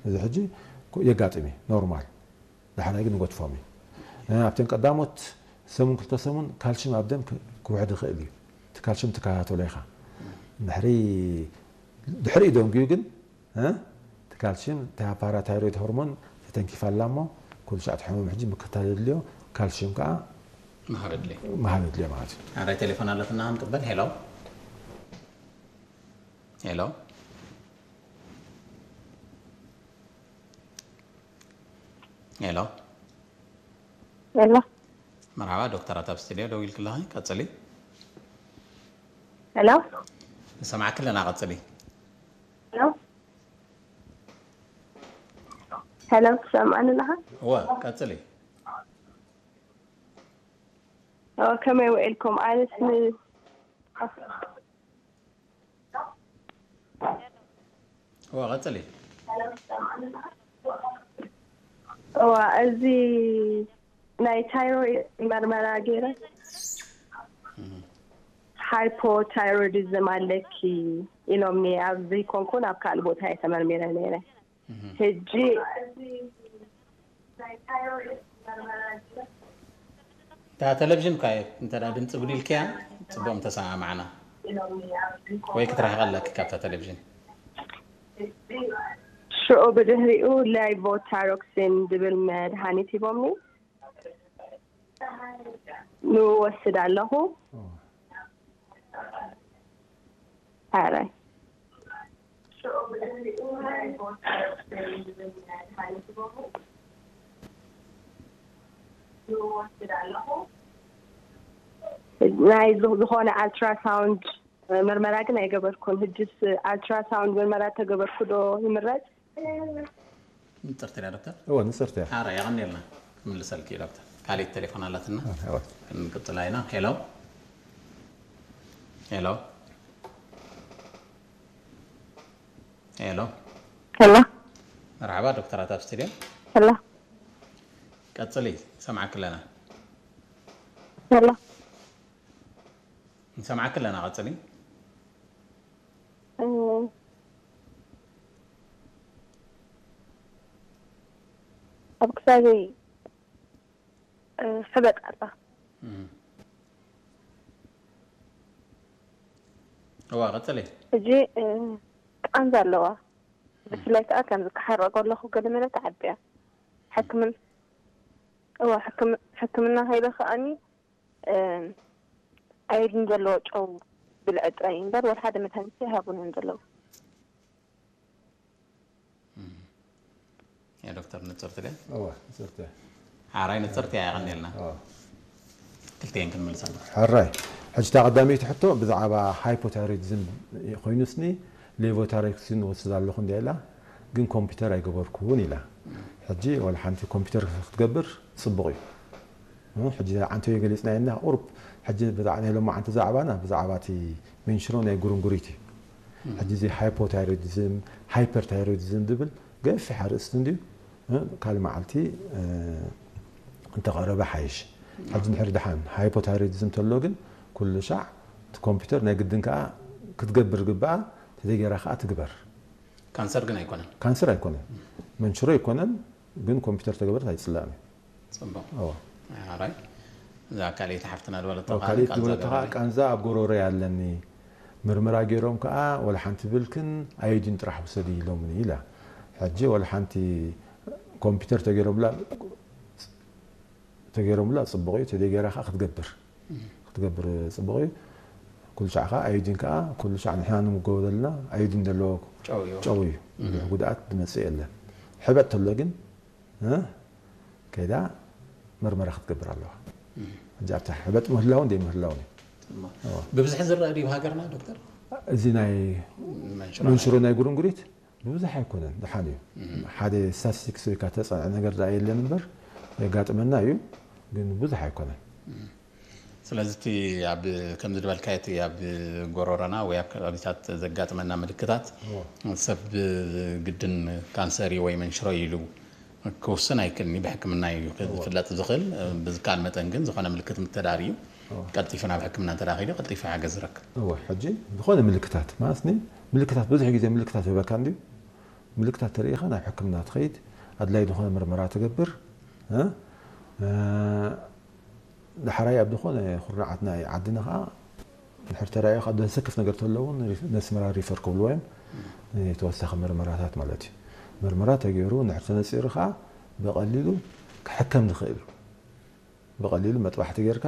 እዚ ሕጂ የጋጥም እዩ፣ ኖርማል። ዳሕራይ ግን ንገድፎም እዩ። ኣብተን ቀዳሞት ሰሙን ክልተ ሰሙን ካልሽም ኣብ ደም ክውሕድ ይኽእል እዩ። እቲ ካልሽም ትከታተሎ ኢኻ። ድሕሪ ድሕሪኡ ደንጉዩ ግን እቲ ካልሽም እታ ፓራታይሮይድ ሆርሞን ተተንኪፋ ኣላ እሞ ኩሉ ሻዕ እቲ ሕሙም ሕጂ ምክትታል የድልዮ። ካልሽም ከዓ ምሃብ የድልዮ። ምሃብ የድልዮ ማለት እዩ። ኣራይ ቴሌፎን ኣለትና ክንቅበል። ሄሎ፣ ሄሎ፣ ሄሎ። ሄሎ። መርሓባ ዶክተራት ኣብ ስቱድዮ ደው ኢልክለኺ፣ ቀጽሊ። ሄሎ። ንሰማዕኪ ኣለና፣ ቀጽሊ። ሄሎ። ሄሎ፣ ትሰምዓኒ ኣለኻ? እወ፣ ቀጽሊ። ኦ፣ ከመይ ውዒልኩም? ኣነስ ን-፣ እወ፣ ቀጽሊ። እዋ፣ እዚ ናይ ታይሮይድ መርመራ ገይረ፣ ሃይፖታይሮይዲዝም ኣለኪ ኢሎምኒ። ኣብዚ ኮንኩን ኣብ ካልእ ቦታ እየ ተመርሚረ ነይረ። ሕጂ እታ ቴሌቪዥን እኳ እንተ ደኣ ድምፂ ጉዲልክያ፣ ጽቡቕ ምተሰማማዕና። ወይ ክትርሕቕ ኣለኪ ካብታ ቴሌቪዥን። ሽዑ ብድሕሪኡ ሌቮታይሮክሲን ዝብል መድሃኒት ሂቦምኒ። ንወስድ ኣለኹ። ኣራይ። ናይ ዝ-፣ ዝኾነ ኣልትራሳውንድ መርመራ ግን ኣይገበርኩን። ሕጅስ ኣልትራሳውንድ መርመራ ተገበርኩ ዶ ይምረጽ? ንጽርቲ ድያ ዶክተር? እወ፣ ንጽርቲ እያ። ኣረ፣ የቐንየልና። ክምልሰልኪ እዩ ዶክተር። ካሊት ቴሌፎን ኣላትና። ኣረ፣ እወ። ክንቅጽላ ኢና። ሄሎ። ሄሎ። ሄሎ። ሄሎ። መርሓባ ዶክተራት ኣብ ስቱድዮ። ሄሎ። ቀጽሊ፣ ንሰምዓኪ ኣለና። ሄሎ። ንሰምዓኪ ኣለና፣ ቀጽሊ። እ፣ ኣብ ክሳደይ፣ እ፣ ሕበጥ ኣላ። እም። እዋ፣ ቀጽሊ። ሕጂ፣ እ፣ ቃንዛ ኣለዋ። ብፍላይ ከዓ ከምዚ ክሓርቕ ከለኹ ገለ መለ ትዓቢ እያ። ሕክምን-፣ እዋ፣ ሕክም-፣ ሕክምና ከይደ ከኣኒ፣ እ፣ ኣዮዲን ዘለዎ ጨው ብልዒ ጥራይ እዩ እምበር፣ ወላ ሓደ መድሃኒት ኣይሃቡን እዮም ዘለዉ። እም። ያ ዶክተር፣ ንጽርቲ ድያ? እወ፣ ንጽርቲ እያ። ሓራይ ንጽርቲ እያ፣ የቐንየልና። እወ። ክልቲኤን ክንምልሳ ኣለና። ሕራይ። ሕጂ እታ ቀዳመይቲ ሕቶ ብዛዕባ ሃይፖታይሮይዲዝም ኮይኑ ስኒ፣ ሌቮታይሮክሲን ወስድ ኣለኹ እንድያ ኢላ፣ ግን ኮምፒውተር ኣይገበርኩን ኢላ። ሕጂ ዋላ ሓንቲ ኮምፒውተር ክትገብር ጽቡቕ እዩ። እ፣ ሕጂ ዓንተዮ ገሊጽናዮ እና ቁሩብ፣ ሕጂ ብዛዕባ ናይ ሎማዓንቲ ዛዕባና ብዛዕባ እቲ መንሽሮ ናይ ጉርንጉሪት እዩ። ሕጂ እዚ ሃይፖታይሮይዲዝም፣ ሃይፐርታይሮይዲዝም ዝብል ገፊሕ ኣርእስቲ እንድዩ። እ፣ ካልእ መዓልቲ፣ እ፣ እንተቐረበ ሓይሽ። ሕጂ እንድሕር ደሓን ሃይፖታይሮይዲዝም ተሎ ግን ኩሉ ሻዕ እቲ ኮምፒውተር ናይ ግድን ከኣ ክትገብር ግብኣ፣ ተደጌራ ከኣ ትግበር። ካንሰር ግን ኣይኮነን። ካንሰር ኣይኮነን። መንሽሮ ኣይኮነን፣ ግን ኮምፒውተር ተገበረት ኣይጽላእን እዩ። ጽቡቕ። እወ። ኣራይ። እዛ ካልኣይቲ ሓፍትና ዝበለቶ እወ፣ ከዓ ካልኣይቲ ቃንዛ ዝበለቶ ከዓ ገበረ። ቃንዛ ኣብ ጎሮሮይ ኣለኒ። ምርመራ ገይሮም ከዓ ወላ ሓንቲ ብልክን ኣዮዲን ጥራሕ ውሰዲ ኢሎምኒ ኢላ። ሕጂ ወላ ሓንቲ ኮምፒውተር ተገይሮምላ፣ ተገይሮምላ ጽቡቕ እዩ፣ ተደይ ገይራ ከዓ ክትገብር። ክትገብር ጽቡቕ እዩ። ኩሉ ሻዕ ከዓ ኣዮዲን ከዓ ኩሉ ሻዕ ንሕና ንምገበለልና ኣዮዲን ዘለዎ ጨው እዩ። ጨው እዩ። ብዙሕ ጉድኣት ዝመጽእ የለን። ሕበጥ ተሎ ግን እ? ከይዳ መርመራ ክትገብር ኣለዋ። ሕጂ ኣብታ ሕበጥ ምህላውን ዘይምህላውን እዩ። እሞ፣ እዎ። ብብዝሒ ዝረአ ድዩ ሃገርና ዶክተር? እዚ ናይ መንሽሮ መንሽሮ ናይ ጉርንጉሪት ብብዝሒ ኣይኮነን፣ ደሓን እዩ። ሓደ ስታቲስቲክስ ወይ ከዓ ተፀንዐ ነገር ደኣ የለን እምበር የጋጥመና እዩ፣ ግን ብዙሕ ኣይኮነን። ስለዚ እቲ ኣብ፣ ከምዚ ዝበልካዮ እቲ ኣብ ጎሮሮና ወይ ኣብ ከባቢታት ዘጋጥመና ምልክታት እዎ። ሰብ ግድን ካንሰር እዩ ወይ መንሽሮ እዩ ኢሉ ክውስን ኣይክእልን እዩ። ብሕክምና እዩ እዎ። ክፍለጥ ዝኽእል። ብዝከኣል መጠን ግን ዝኾነ ምልክት ምተዳርዩ እዎ። ቀልጢፉ ናብ ሕክምና እንተዳኺዱ ቀልጢፉ ሓገዝ ዝረክብ። እዎ፣ ሕጂ ዝኾነ ምልክታት ማለትኒ ምልክታት ብዙሕ ግዜ ምልክታት ይህበካ እንድዩ። ምልክታት ተርእኻ ናብ ሕክምና ትኸይድ፣ ኣድላይ ዝኾነ ምርመራ ትገብር። እ? እ፣ ዳሕራይ ኣብ ዝኾነ ኩርናዓት ናይ ዓድና ኸዓ ድሕር ተራእዩ ኸዓ ዘሰክፍ ነገር ተሎ እውን ሪ-፣ ነስመራ ሪፈር ክብልዎ እዮም። ተወሳኺ ምርመራታት ማለት እዩ። ምርመራ ተገይሩ ድሕር ተነፂሩ ኸዓ ብቐሊሉ ክሕከም ዝኽእል እዩ። ብቐሊሉ መጥባሕቲ ጌርካ፣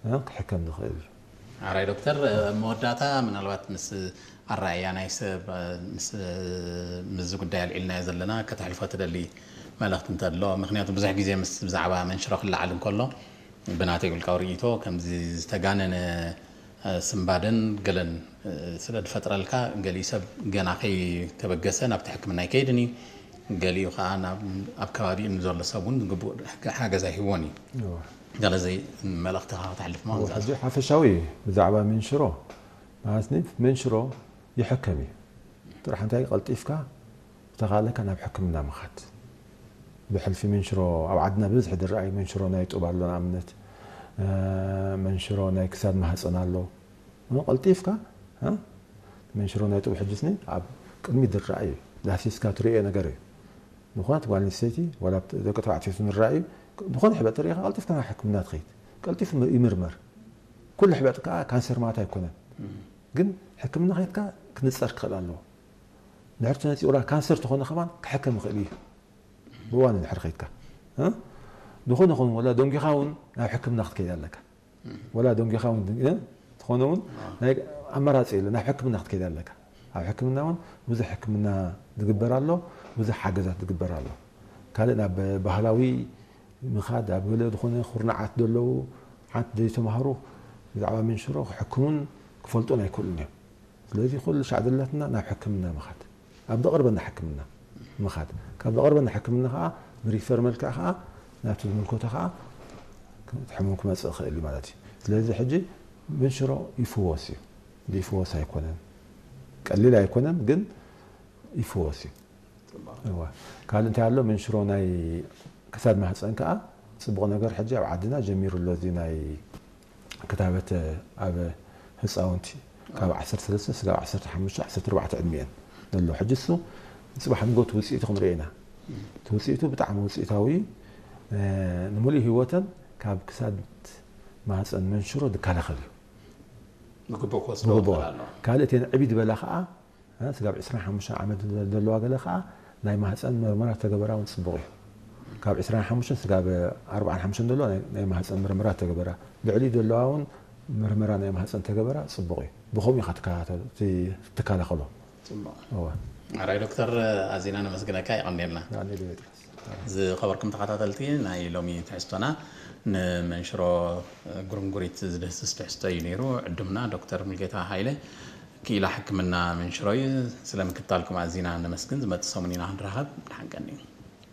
እ፣ ክሕከም ዝኽእል እዩ። ኣራይ ዶክተር፣ ኣብ መወዳእታ ምናልባት ምስ ኣረኣእያ ናይ ሰብ፣ ምስ፣ ምስዚ ጉዳይ ኣልዒልናዮ ዘለና ከተሕልፎ ትደሊ መልእኽቲ እንተሎ? ምኽንያቱ ብዙሕ ግዜ ምስ ብዛዕባ መንሽሮ ክለዓል እንከሎ ብናተይ ውልቃዊ ርእይቶ ከምዚ ዝተጋነነ ስንባደን ገለን ስለ ዝፈጥረልካ፣ ገሊኡ ሰብ ገና ከይተበገሰ ናብቲ ሕክምና ኣይከይድን እዩ። ገሊኡ ከዓ ናብ፣ ኣብ ከባቢኡ ንዘሎ ሰብ እውን ግቡእ ሓገዝ ኣይህቦን እዩ። እወ። ገለ ዘይ-፣ መልእኽትኻ ከተሕልፍ እሞ እወ፣ ንዝኣዝ-፣ ሕጂ ሓፈሻዊ እዩ ብዛዕባ መንሽሮ። ማለት መንሽሮ ይሕከም እዩ። ጥራሕ እንታይ ቀልጢፍካ ተኻለካ ናብ ሕክምና ምኻድ። ብሕልፊ መንሽሮ ኣብ ዓድና ብብዝሒ ዝረኣይ መንሽሮ ናይ ጡብ ኣሎ ንኣብነት፣ እ፣ መንሽሮ ናይ ክሳድ ማህፀን ኣሎ። እ፣ ቀልጢፍካ፣ እ፣ መንሽሮ ናይ ጡብ ሕጅስኒ ኣብ ቅድሚት ዝረኣይ እዩ። ዳህሲስካ ትርእዮ ነገር እዩ። ዝኾነት ጓል ኣንስተይቲ ዋላ ኣብቲ ደቂ ተባዕትዮ ንረኣዩ ዝኾነ ሕበጥ ተርእኻ ቀልጢፍካ ናብ ሕክምና ትኸይድ። ቀልጢፉ ይምርመር። ኩሉ ሕበጥ ከዓ ካንሰር ማለት ኣይኮነን። ግን ሕክምና ከይድካ ክንፀር ክኽእል ኣለዎ። ድሕር ተነፂኡላ ካንሰር ተኾነ ከማን ክሕከም ይኽእል እዩ። ብእዋኑ ድሕር ከይድካ፣ እ? ዝኾነ ኾነ ወላ ደንጊኻ እውን ናብ ሕክምና ክትከይድ ኣለካ። ወላ ደንጊኻ እውን፣ እ? ተኾነ እውን ናይ ኣማራፂ የለ፣ ናብ ሕክምና ክትከይድ ኣለካ። ኣብ ሕክምና እውን ብዙሕ ሕክምና ዝግበር ኣሎ፣ ብዙሕ ሓገዛት ዝግበር ኣሎ። ካልእ ናብ ባህላዊ ምኻድ፣ ኣብ ገለ ዝኾነ ኩርናዓት ዘለዉ ሓንቲ ዘይተማህሩ ብዛዕባ መንሽሮ ክሕክሙን ክፈልጡን ኣይክእሉን እዮም። ስለዚ ኩሉ ሻዕ ዘለትና ናብ ሕክምና ምኻድ፣ ኣብ ዘቕርበና ሕክምና ምኻድ፣ ካብ ዘቕርበና ሕክምና ከዓ ብሪፈር መልክዕ ከዓ ናብቲ ዝምልከቶ ከዓ እቲ ሕሙም ክመፅእ ይኽእል እዩ ማለት እዩ። ስለዚ ሕጂ መንሽሮ ይፍወስ እዩ፣ ዘይፍወስ ኣይኮነን፣ ቀሊል ኣይኮነን ግን ይፍወስ እዩ። እዋ። ካልእ እንታይ ኣሎ? መንሽሮ ናይ ክሳድ ማህፀን ከዓ ፅቡቕ ነገር ሕጂ ኣብ ዓድና ጀሚሩ ኣሎ። እዚ ናይ ክታበት ኣብ ህፃውንቲ ካብ ዓሰርተ ሰለስተ ስጋብ ዓሰርተ ሓሙሽተ ዓሰርተ ኣርባዕተ ዕድሚኤን ዘሎ። ሕጂ እሱ ፅባሕ ንጎት ውፅኢቱ ክንርኢ ኢና። እቲ ውፅኢቱ ብጣዕሚ ውፅኢታዊ እዩ። እ፣ ንምሉእ ህይወተን ካብ ክሳድ ማህፀን መንሽሮ ዝከላኸል እዩ። ብግቡእ ክወስዶ ብግቡእ። ይኽእል ኣሎ። ካልእ እተን ዕብይ ዝበላ ከዓ፣ እ፣ ስጋብ ዕስራን ሓሙሽተን ዓመት ዘለዋ ገለ ከዓ ናይ ማህፀን መርመራ ተገበራ እውን ፅቡቕ እዩ። ካብ ዕስራን ሓሙሽተን ስጋብ ኣርባዓን ሓሙሽተን ዘለዋ ናይ፣ ናይ ማህፀን መርመራ ተገበራ። ልዕሊኡ ዘለዋ እውን መርመራ ናይ ማህፀን ተገበራ ፅቡቕ እዩ። ብኸምኡ ኢኻ ትከታተል-፣ ት-፣ ትከላኸሎ። ፅቡቕ። እወ። ኣራይ ዶክተር፣ ኣዚና ነመስግነካ፣ የቐንየልና። ኣነ ዶ የጥራስ። ዝኸበርኩም ተኸታተልቲ፣ ናይ ሎሚ ትሕዝቶና ንመንሽሮ ጉርንጉሪት ዝድህስስ ትሕዝቶ እዩ ነይሩ። ዕዱምና ዶክተር ሙልጌታ ሃይለ፣ ክኢላ ሕክምና መንሽሮ እዩ። ስለ ምክትታልኩም ኣዚና ነመስግን። ዝመጽእ ሰሙን ኢና ክንራኸብ። ደሓን ቀንዩ።